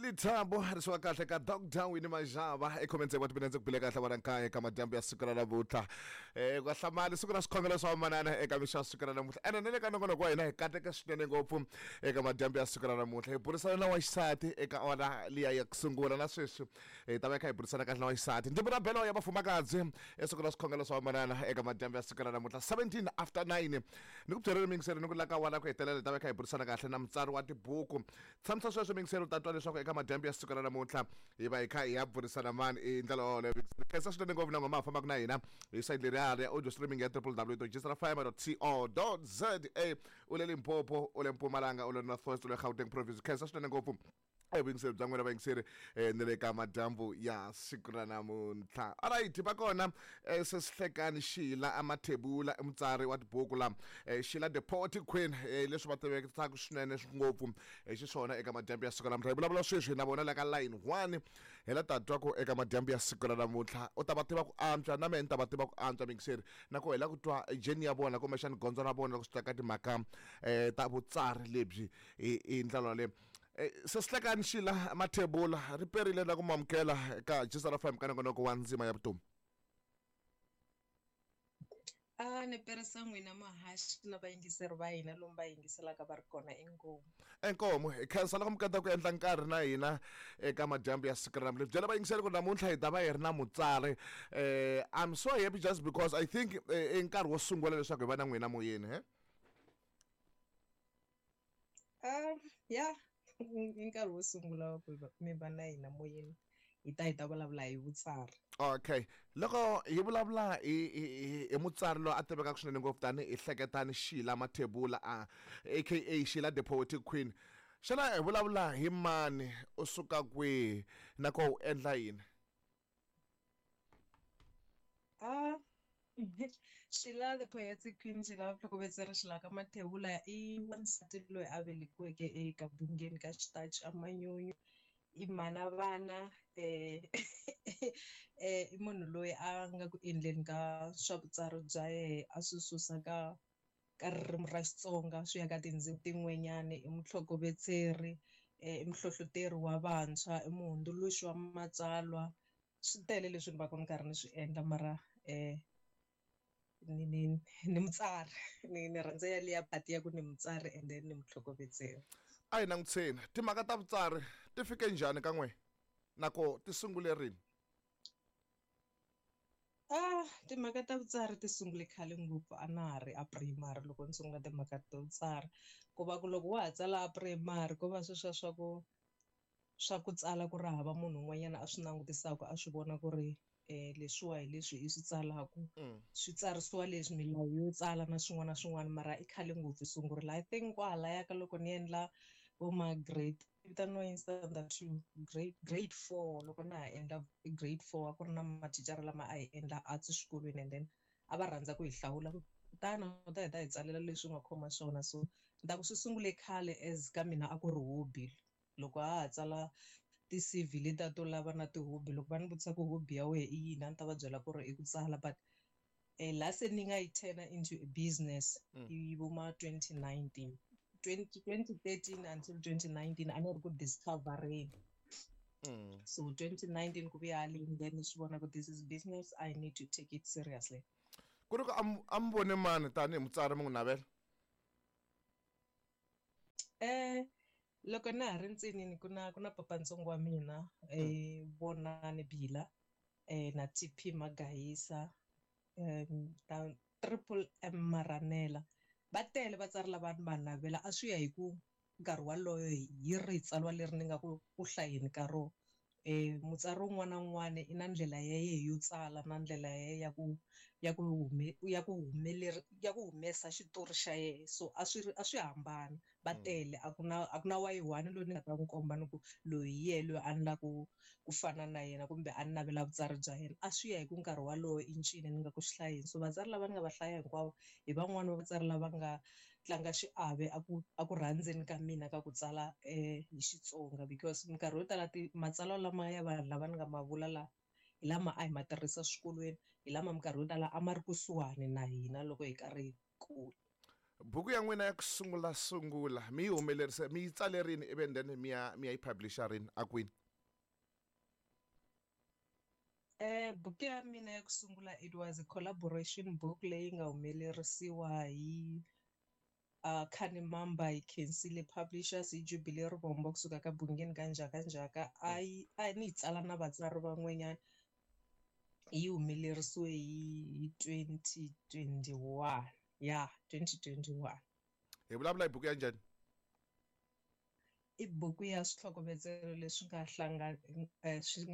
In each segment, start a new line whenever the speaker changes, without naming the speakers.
Lithabo ri swa kahle ka Dr Winnie Majava ekhomeni wa tipinenze ku bile kahle vana nkaye ka madyambu ya siku ra namuntlha. Ku hlamali siku ra swikhongelo swa manana eka mixo ya siku ra namuntlha. Ene na le ka nongonoko wa hina hi kateke swinene ngopfu eka madyambu ya siku ra namuntlha. Hi burisana na wa xisati eka awara liya ya ku sungula na sweswi hi ta va hi kha hi burisana kahle na wa xisati. Ndzi vula belo ya vafumakadzi esiku ra swikhongelo swa manana eka madyambu ya siku ra namuntlha 17 after 9. Ni ku byerile miyingiseri ni ku la ka awara ya ku hetelela hi ta va hi kha hi burisana kahle na mutsari wa tibuku. Tshamisa sweswo miyingiseri u ta twa leswaku eka madyambu ya siku ra namuntlha hi va hi kha hi ya burisana mani i ndlela yoleyo. Khensa swinene ngopfu na n'we ma ha fambaka na hina hi sayiti leriya ya audio streaming ya www.gsrfm.co.za. U le Limpopo, u le Mpumalanga, u le North West, u le Gauteng province. Khensa swinene ngopfu evuyingiseri bya n'wina vayingiseri ni le ka madyambu ya siku ra namuntlha. Alright, va kona sesihlekani Sheila Amathebula, i mutsari wa tibuku la Sheila the Poetry Queen, leswi va tivekaka swinene ngopfu hi xiswona eka madyambu ya siku ra namuntlha. Hi vulavula sweswi na vona la ka line 1 hi la ta twa ku eka madyambu ya siku ra namuntlha u ta va tiva ku antswa na mehe ni ta va tiva ku antswa miyingiseri na ku hi la ku twa journey ya vona kumbexani gondzo ra vona loko swi ta ka timhaka ta vutsari lebyi hi ndlela yaleyo. Sesihlekani Sheila Mathebula ri perile na ku mamukela ka Jisara FM ka nongonoko wa ndzima ya vutomi.
A ni perisa n'wina mahaxi na vayingiseri va hina lomu va yingiselaka va ri kona inkomu.
Inkomu hi khensa loko mi kota ku endla nkarhi na hina eka madyambu ya siku ra namuntlha. Byela vayingiseri ku namuntlha hi ta va hi ri na mutsari. I'm so happy just because I think i nkarhi wo sungula leswaku hi va na n'wina moyeni he.
Ya i nkarhi wo sungula ku mi va na hina moyeni hi ta hi ta vulavula hi vutsari.
Okay, loko hi vulavula hi hi mutsari loyi a tivekaka swinene ngopfu tanihi Hleketani Sheila Mathebula a aka Sheila the Poetic Queen, xana hi vulavula hi mani, u suka kwihi na ko u endla yini?
Ah, Sheila the Poetic Queen, Sheila vutlhokovetseri Sheila ka Mathebula i wansati loyi a velekiweke eka Bungeni ka Xitachi eManyunyu. I mhana vana i munhu loyi a nga ku endleni ka swa vutsari bya yehe a swi susa ka ka ririmi ra Xitsonga swi ya ka tindzimi tin'wanyani. I mutlhokovetseri, i muhlohloteri wa vantshwa, i muhundzuluxi wa matsalwa. Swi tele leswi ni va ka ni karhi ni swi endla mara ni ni ni mutsari ni ni rhandza yaliya part ya ku ni mutsari and then ni mutlhokovetseri.
A hi langutiseni timhaka ta vutsari ti fike njhani ka n'we na ko ti sungule rini?
Ah, timhaka ta vutsari ti sungule khale ngopfu a na ha ri a primary loko ni sungula timhaka ta vutsari ku va ku loko wa ha tsala a primary ko va sweswiya swa ku swa ku tsala ku ri hava munhu un'wanyana a swi langutisaka a swi vona ku ri leswiwa hi leswi i swi tsalaku swi tsarisiwa leswi milawu yo tsala na swin'wana na swin'wana mara i khale ngopfu yi sungurile. I think kwalaya ka loko ni endla vo ma grade vitaniwa yini standard 2 grade 4 loko na ha endla grade 4 a ku ri na mathicara lama a hi endla arts xikolweni and then a va rhandza ku hi hlawula ku tana u ta hi ta hi tsalela leswi u nga khoma swona so ni ta ku swi sungule khale as ka mina a ku ri hobby loko a ha tsala ti-C_V letiya to lava na ti-hobby loko va ni vutisa ku hobby ya wena i yini a ni ta va byela ku ri i ku tsala but laha se ni nga yi turn into a business i vo ma 2019 2013 until 2019 a ni ri ku discovereni. So 2019 ku vuya haleni then ni swi vona ku this is business I need to take it seriously.
Ku ri ku a mi vone mani tanihi mutsari mi n'wi navela?
Loko na ha ri ntsinini ku na ku na papantsongo wa mina Vonani Bila na T_P Magayisa na Triple M Maranela va tele vatsari lava ni va navela a swi ya hi ku nkarhi waloyo hi rihi tsalwa leri ni nga ku ku hlayeni ka rona. Mutsari wun'wana na wun'wana i na ndlela ya yehe yo tsala na ndlela ya ya ku ya ku ya ku ya ku humesa xitori xa yehe so a swi ri a swi hambana va tele a ku na a ku na wa yi one loyi ni nga ta n'wi komba ni ku loyi hi yehe loyi a ni lava ku ku fana na yena kumbe a ni navela vutsari bya yena a swi ya hi ku nkarhi walowo i ncini ni nga ku swi hlayeni so vatsari lava ni nga va hlaya hinkwavo hi van'wani va vatsari lava nga tlanga xiave a ku a ku rhandzeni ka mina ka ku tsala hi Xitsonga because minkarhi yo tala ti matsalwa lama ya vanhu lava ni nga ma vula la hi lama a hi ma tirhisa swikolweni hi lama minkarhi yo tala a ma ri kusuhani na hina loko hi karhi hi kula.
Buku ya n'wina ya ku sungula sungula mi yi humelerise, mi yi tsale rini, ivi then mi ya yi publisha rini, a kwini?
Buku ya mina ya ku sungula, it was a collaboration book leyi nga humelerisiwa hi Khanimamba, hi khensile publishers hi Jubilee Rivombo kusuka ka Bungeni ka Njhaka Njhaka. A yi a ni yi tsala na vatsari van'wanyana. Yi humelerisiwe hi 2021, ya 2021.
Hi vulavula hi buku ya njhani?
I buku ya switlhokovetselo leswi nga swi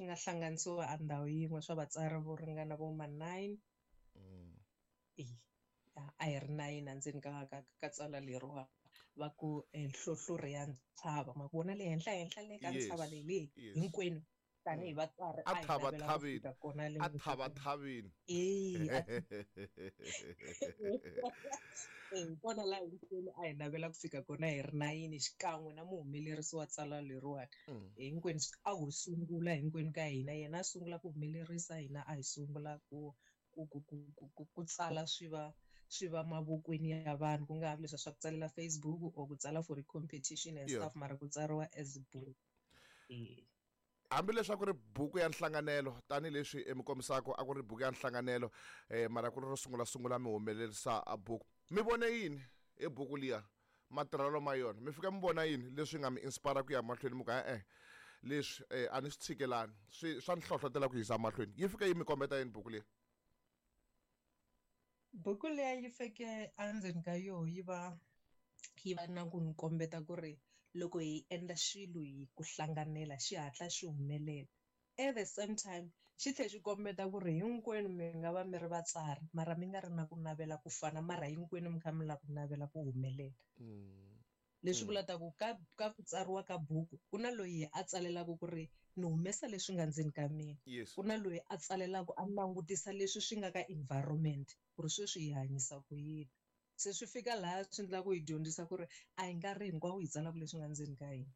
nga hlanganisiwa a ndhawu yin'we swa vatsari vo ringana vo ma 9. A hi ri 9 endzeni ka tsalwa leriwa va ku nhlohlorhi ya ntshava. Ma ku vona le henhla henhla le ka ntshava leyi le hinkwenu tanihi vatswari
a hi navela ku fika kona le. A thavathavini.
E, kona laha hinkwenu a hi navela ku fika kona hi ri 9, xikan'we na muhumelerisi wa tsalwa leriwani. Hinkwenu a ho sungula hinkwenu ka hina, yena a sungula ku humelerisa, hina a hi sungula ku tsala swi va mavokweni ya vanhu, ku nga vi leswiya swa ku tsalela Facebook or ku tsala for competition and stuff, mara ku tsariwa as book.
Hambileswi a ku ri buku ya nhlanganelo, tanihileswi mi kombisaka a ku ri buku ya nhlanganelo, mara ku ri ro sungula sungula mi humelerisa a buku, mi vone yini hi buku liya, matirhelo ma yona? Mi fika mi vona yini leswi nga mi inspire ku ya mahlweni, mi ku e-e, leswi a ni swi tshikelani, swi swa ni hlohlotela ku yisa mahlweni? Yi fika yi mi kombeta yini buku liya?
Buku liya yi fike endzeni ka yoho yi va na ku ni kombeta ku ri loko hi endla xilo hi ku hlanganela, xi hatla xi humelela. At the same time xi tlhela xi kombeta ku ri hinkwenu mi nga va mi ri vatsari, mara mi nga ri na ku navela ku fana, mara hinkwenu mi kha mi lava ku navela ku humelela. Leswi vulaka ku ka ku tsariwa ka buku, ku na loyi a tsalelaka ku ri ni humesa leswi nga ndzeni ka mina. Ku na loyi a tsalelaka a langutisa leswi swi nga ka environment, ku ri sweswi hi hanyisa ku yini. Se swi fika laha swi endlaka ku hi dyondzisa ku ri a hi nkarhi hinkwawo hi tsalaka leswi nga ndzeni ka hina,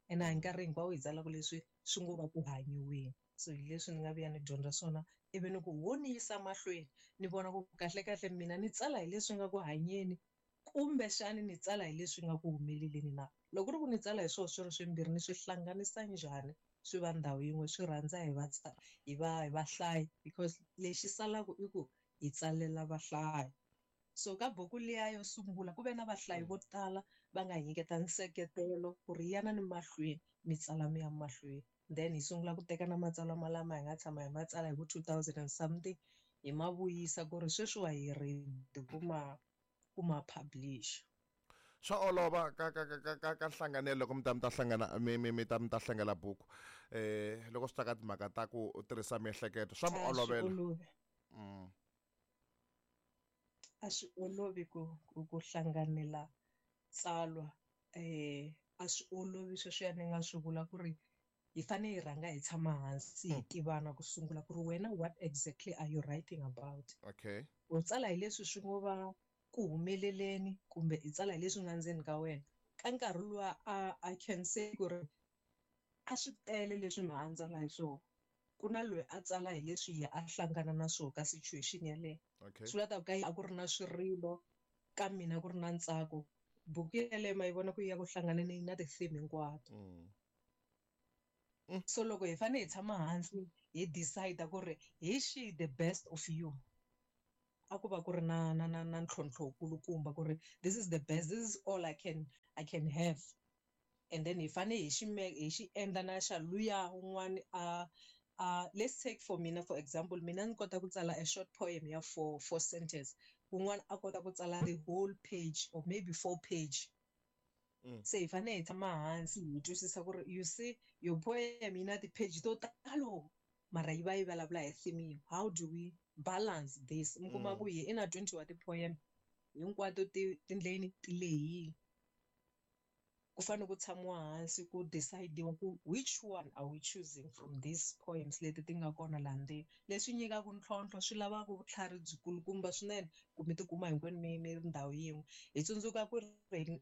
ene a hi nkarhi hinkwawo hi tsalaka leswi swi ngo va ku hanyiweni. So hi leswi ni nga vuya ni dyondza swona, ivi ni ku wo ni yisa mahlweni, ni vona ku kahlekahle mina ni tsala hi leswi nga ku hanyeni, kumbexani ni tsala hi leswi nga ku humeleleni na. Loko ku ri ku ni tsala hi swona swi ri swimbirhi, ni swi hlanganisa njhani swi va ndhawu yin'we, swi rhandza hi vahlayi? Because lexi salaka i ku hi tsalela vahlayi. So ka buku liya yo sungula ku ve na vahlayi vo tala va nga hi nyiketa nseketelo ku ri yana ni mahlweni mi tsala, mi ya mahlweni. Then hi sungula ku teka na matsalwa malama hi nga tshama hi ma tsala hi vo 2000 and something, hi ma vuyisa ku ri sweswiwa hi ready ku ma publish.
Swa olova ka nhlanganelo loko mi ta hlangana, mi ta hlangela buku, loko swi ta ka timhaka ta ku tirhisa miehleketo, swa mi
A swi
olovela?
Olovi. A swi olovi ku hlanganela tsalwa. A swi olovi sweswiya ni nga swi vula ku ri hi fanele hi rhanga hi tshama hansi, hi tivana ku sungula ku ri wena, what exactly are you writing about? U tsala hi leswi swi ngo va ku humeleleni, kumbe i tsala hi leswi nga ndzeni ka wena? Ka nkarhi luwa a I can say ku ri a swi tele leswi mi a tsala hi swona. Ku na loyi a tsala hi leswi ye a hlangana na swona ka situation yaleyo. Swi vula ta ku ka a ku ri na swirilo, ka mina ku ri na ntsako. Buku yeleyo ma yi vona ku yi ya ku hlanganeni na ti-theme hinkwato. So loko hi fanele hi tshama hansi hi decide ku ri hi xihi the best of you, a ku va ku ri na ntlhontlho wukulukumba ku ri this is the best, this is all I can have. And then hi fanele hi xi endla na xa luya un'wani a let's take for mina, for example, mina ni kota ku tsala a short poem ya four sentence, un'wana a kota ku tsala the whole page or maybe four page. Se hi fanele hi tshama hansi hi twisisa ku ri, you see, your poem yi na ti-page to talo, mara yi va yi vulavula hi theme yin'we. How do we balance this? Mi kuma ku hi i na 20 wa ti-poem, hinkwato ti tindleni ti lehile. Ku fanele ku tshamiwa hansi ku decide-iwa ku which one are we choosing from these poems leti ti nga kona laha ndzeni. Leswi nyikaka ntlhontlho swi lavaka vutlhari byikulukumba swinene ku mi tikuma hinkwenu mi ri ndhawu yin'we. Hi tsundzuka ku ri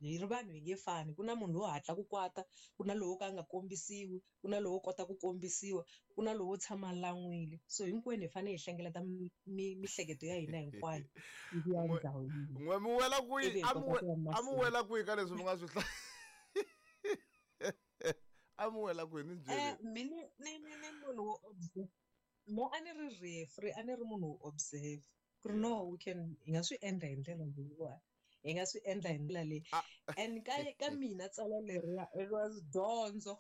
hi ri vanhu hi nge fani, ku na munhu lowo hatla ku kwata, ku na lowo ka a nga kombisiwi, ku na lowo kota ku kombisiwa, ku na lowo tshama a lan'wile. So hinkwenu hi fanele hi hlengeleta mihleketo ya hina hinkwayo yi vuya ndhawu yin'we.
N'we mi wela kwihi?
Ivi hi
A mi
kota ku ya
a mi
mahlweni.
wela kwihi ka leswi mi nga swi a mi wela kwihi ni byeli?
Mi ni, ni, ni, ni munhu wo observe. Mo a ni ri referee, a ni ri munhu wo observe. Ku ri no, we can, hi nga swi endla hi ndlela leyiwani. Hi nga swi endla hi ndlela leyi. And ka mina tsalwa leriya, it was dyondzo.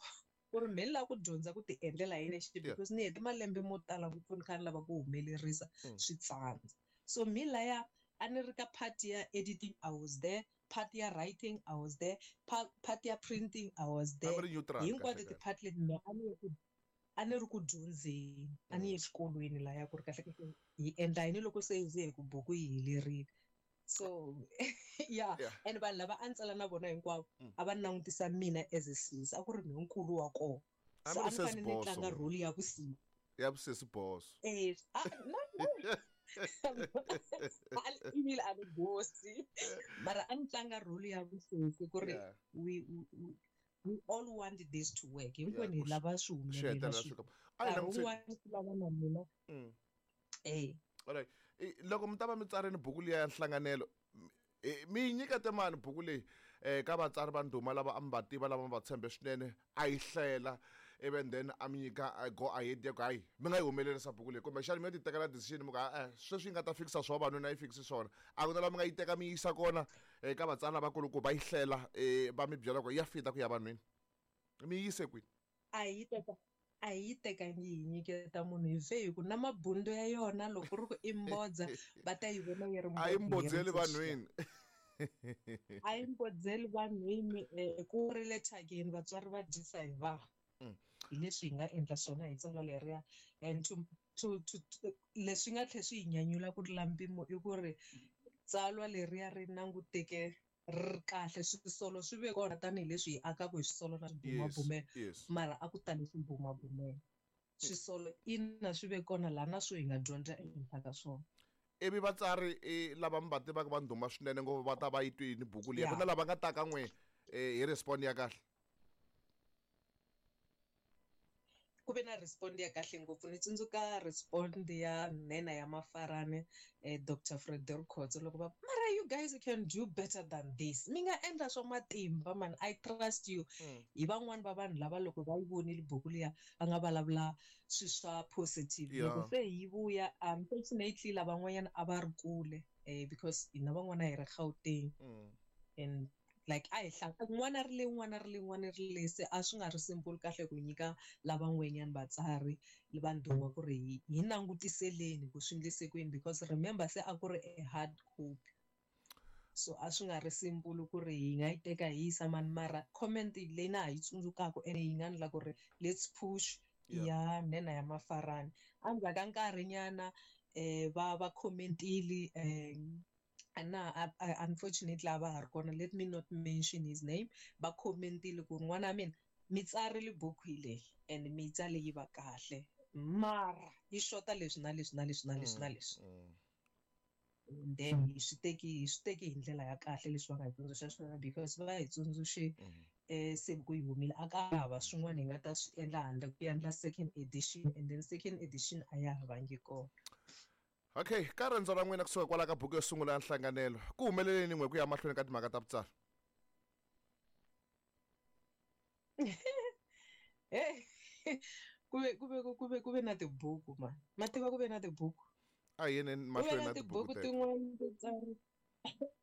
Ku ri me ni lava ku dyondza ku ti endlela hi nexe because ni hete malembe mo tala ngopfu ni kha ni lava ku humelerisa swi tsandza. So mi laya a ni ri ka part ya editing, I was there. Part ya writing, I was there. Part ya printing, I was there.
A mi ri neutral,
Hinkwato
kahle kahle.
ti-part leti mina a ni ri ku dyondzeni, a ni ye xikolweni laya ku ri kahle kahle hi endla yini loko se hi ze hi ku buku yi helerile. So, yeah. And vanhu lava a ni tsala na vona hinkwavo, a va langutisa mina as a sis, a ku ri mina nkulu wa kona.
A
So,
mi
a
ri
ni
sesi
fanele ni
boss
tlanga
wena.
role ya vusisi.
Ya vusesi boss.
No, no. Ebile a ni bosi. Mara a ni tlanga role ya vusesi ku ri we all want this to work. Hinkwenu hi lava swi
Swi
humelela
hetelela
swi
swi ka- A hi
nkarhi
langutise-
wun'wana swi lava na mina.
All right. Loko mi ta va mi tsarini buku liya ya nhlanganelo, mi yi nyikete mani buku leyi ka vatsari va ndhuma lava a mi va tiva, lava mi va tshembe swinene, a yi hlela, even then a mi nyika a go ahead ya ku hayi mi nga yi humelerisa buku leyi, kumbexana mi yo ti tekela decision mi ku ha-e, sweswi yi nga ta fikisa swa vavanuna yi fikisi swona. A ku na laha mi nga yi teka mi yisa kona ka vatsari lavakulu ku va yi hlela, va mi byela ku ya fita ku ya vanhwini, mi yi yise kwini?
A yi teka, a yi tekangi yi nyiketa munhu hi ve hi ku na mabundo ya yona loko ku ri ku i mbodza va ta yi vona yi ri
A yi
mbodza yi ri
mbodzeli
fresh.
vanhwini.
A yi mbodzeli vanhwini, ku ri le thyakeni vatswari va dyisa hi vanhu. Hi leswi hi nga endla swona hi tsalwa leriya. And to leswi nga tlhela swi hi nyanyula ku tlula mpimo i ku ri tsalwa leriya ri languteke ri kahle, swisolo swi ve kona tanihileswi hi akaka hi swisolo na swibumabumelo. Mara a ku tali swibumabumelo. Swisolo ina swi ve kona laha na swo hi nga dyondza ehenhla ka swona.
Ivi vatsari lava mi va tivaka va ndhuma swinene ngopfu va ta va yi twini buku liya. Ku na lava nga ta ka n'we hi respond ya kahle?
Ku ve na respond ya kahle ngopfu. Ni tsundzuka respond ya nhenha ya Mafarani, Doctor Frederick Khotso, loko va mara you guys can do better than this. Mi nga endla swa matimba man, I trust you. Hi van'wani va vanhu lava loko va yi vonile buku liya va nga vulavula swilo swa positive. Loko se yi vuya, unfortunately lavan'wanyana a va ri kule, because hina van'wana hi ri Gauteng. And like a hi hlanga, un'wana ri le, un'wana ri le, un'wana ri le, se a swi nga ri simple kahle ku nyika lavan'wanyana vatsari va ndhuma ku ri hi langutiseleni ku swi endlise ku yini, because remember se a ku ri a hard copy. So a swi nga ri simple ku ri hi nga yi teka hi yisa mani, mara comment leyi na ha yi tsundzukaka ene yi nga endla ku ri let's push ya nhenha ya Mafarani. Endzhaku ka nkarhinyana, va commentile, na, unfortunately a va ha ri kona, let me not mention his name, va commentile ku n'wana wa mina mi tsarile buku hi leyi and mi yi tsale yi va kahle, mara yi xota leswi na leswi na leswi na leswi na leswi. And then hi swi teki hi ndlela ya kahle leswi va nga hi tsundzuxa swona, because va hi tsundzuxe, se ku yi humile a ka hava swin'wana hi nga ta swi endla handle ku endla second edition, and then second edition a ya ha vangi kona.
Okay, ka riendzo ra n'wina kusuka kwala ka buku yo sungula ya nhlanganelo, ku humeleleni n'we ku ya mahlweni ka timhaka ta vutsari?
Hey, ku ve na tibuku man. Ma tiva ku ve na tibuku?
A hi yeni
Ku ve
mahlweni
na
na tibuku
tibuku
teto.
tin'wana to tsari.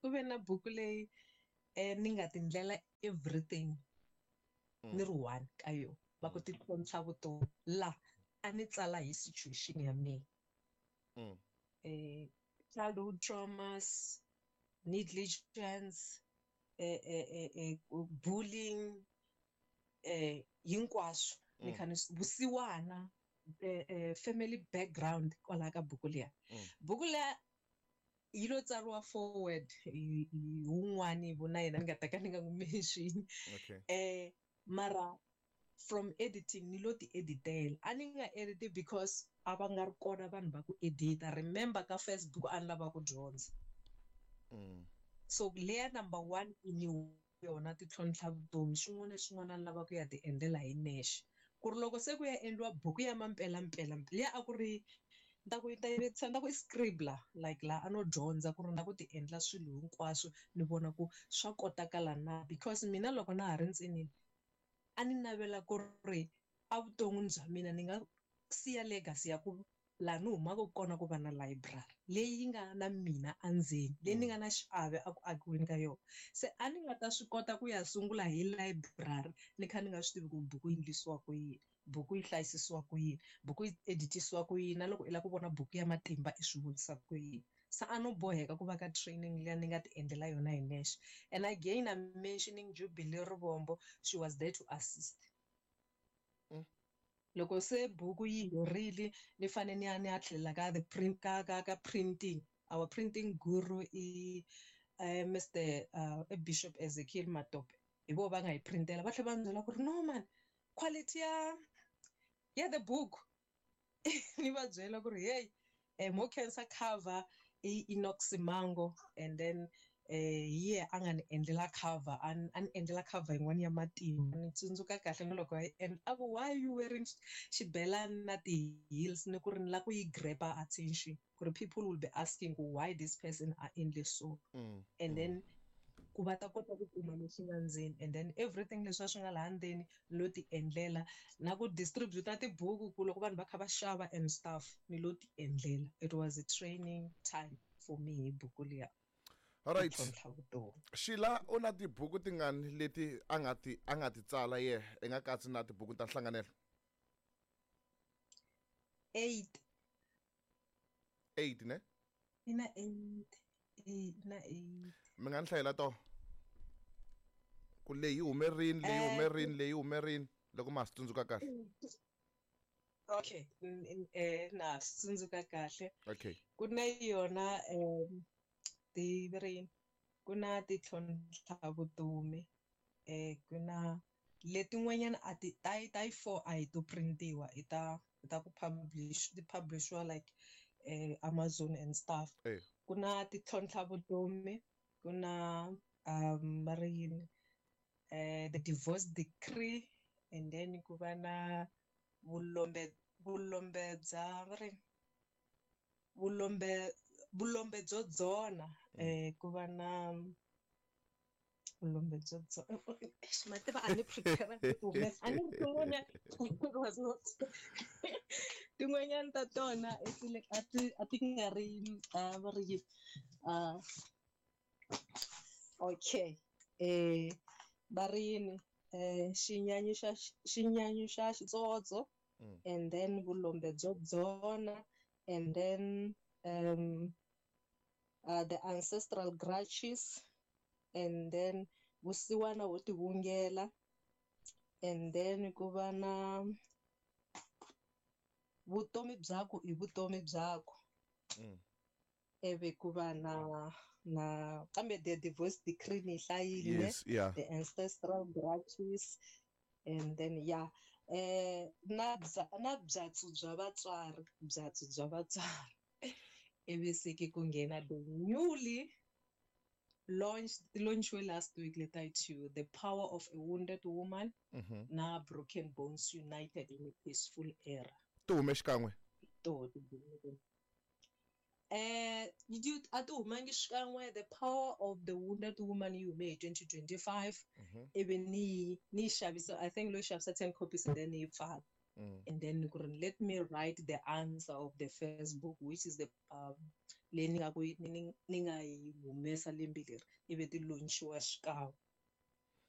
Ku ve na buku leyi ni nga tindlela everything. Ni ri one ka yona. Va ku ti tlhontlha vutomi. La a ni tsala hi situation ya mina. Childhood traumas, negligence, bullying, hinkwaswo. Ni kha ni vusiwana, family background kwalaho ka buku liya. Buku liya Yi lo tsariwa forward hi wun'wani vo na yena ni nga ta ka ni nga n'wi mention.
Okay.
Mara from editing ni lo ti editela. A ni nga editi because a va nga ri kona vanhu va ku edita. Remember ka Facebook a ni lava ku dyondza. So leya number 1 i ni yona ti tlhontlha vutomi, xin'wana na xin'wana a ni lava ku ya ti endlela hi nexe. Ku ri loko se ku ya endliwa buku ya mampela mpela, liya a ku ri ta ku ta ku i scribbler, like laha a no dyondza ku ri na ku ti endla swilo hinkwaswo ni vona ku swa kotakala na, because mina loko na ha ri ntsinini a ni navela ku ri evuton'wini bya mina ni nga siya legacy ya ku laha ni humaka kona ku va na library leyi nga na mina endzeni, leyi ni nga na xiave eku akiweni ka yona. Se a ni nga ta swi kota ku ya sungula hi library ni kha ni nga swi tivi ku buku yi endlisiwa ku yini, buku yi hlayisisiwa ku yini, buku yi editisiwa ku yini, na loko i lava ku vona buku ya matimba i swi vonisa ku yini. Se a no boheka ku va ka training liya ni nga ti endlela yona hi nexe. And again, I'm mentioning Jubilee Rivombo, she was there to assist. Loko se buku yi herile ni fane ni ya ni ya tlhelela ka the print, ka, ka, ka printing. Our printing guru i Mr., Bishop Ezekiel Matope. Hi vo va nga yi printela, va tlhela va ni byela ku ri no man, quality ya the book. Ni va byela ku ri hey, mo khensa cover i Enoch Simango, and then hi yena a nga ni endlela cover, a ni endlela cover yin'wana ya matimba. Ni tsundzuka kahle na loko a yi endla, a ku why you wearing xibelani na ti-heels, ni ku ri ni lava ku yi grab-a attention, ku ri people will be asking why this person a endle so. And then ku va ta kota ku kuma leswi nga ndzeni, and then everything leswi a swi nga laha ndzeni ni lo ti endlela, na ku distributa tibuku ku loko vanhu va kha va xava and stuff, ni lo ti endlela. It was a training time for me hi buku liya.
All right.
Tlhontlha vutomi.
Sheila, u na tibuku tingani leti a nga ti tsala ye, i nga katsi na tibuku ta nhlanganelo?
8.
8 ne?
I na 8. Na 8.
Mi nga ni hlayela to? Ku leyi hume rini, leyi hume rini, leyi hume rini, loko ma ha swi tsundzuka kahle.
Okay, na swi tsundzuka kahle.
Okay.
Ku na yona ti ri ku na titlhontlha vutomi, ku na letin'wanyana a ti ta ta yi 4 a hi to printiwa, i ta ta ku publish, ti publishiwa like Amazon and stuff. Ku na titlhontlha vutomi, ku na va ri yini, the divorce decree, and then ku va na vulombe, vulombe bya va ri vulombe, vulombe byo dzona, ku va na vulombe byo dzona. Eish, ma tiva a ni prepare ku humesa, a ni ri tin'wanyana, it was not tin'wanyana ta tona a ti, a ti nga ri, va ri yini, okay, va ri yini, xinyanyu xa, xinyanyu xa xitsotso, and then vulombe byo dzona, and then the ancestral grudges, and then vusiwana wo tivungela, and then ku va na vutomi byaku i vutomi byaku. Ivi ku va na kambe the divorce decree ni hlayile,
Yes, yeah.
the ancestral grudges, and then yeah, na bya, na byatsu bya vatswari, byatsu bya vatswari. Ivi se ke ku nghena the newly launched, launched last week, let I tell you, The Power of a Wounded Woman, na Broken Bones United in a Peaceful Era.
Ti hume xikan'we?
To, ti hume. You, a ti humangi xikan'we. The Power of the Wounded Woman yi hume hi 2025. Ivi ni xavisa, I think lo xavisa 10 copies and then yi pfala. And then ku ri let me write the answer of the first book, which is the leyi ni nga ku yi, ni, ni, ni nga yi humesa lembe leri, ivi ti launchiwa xikan'we.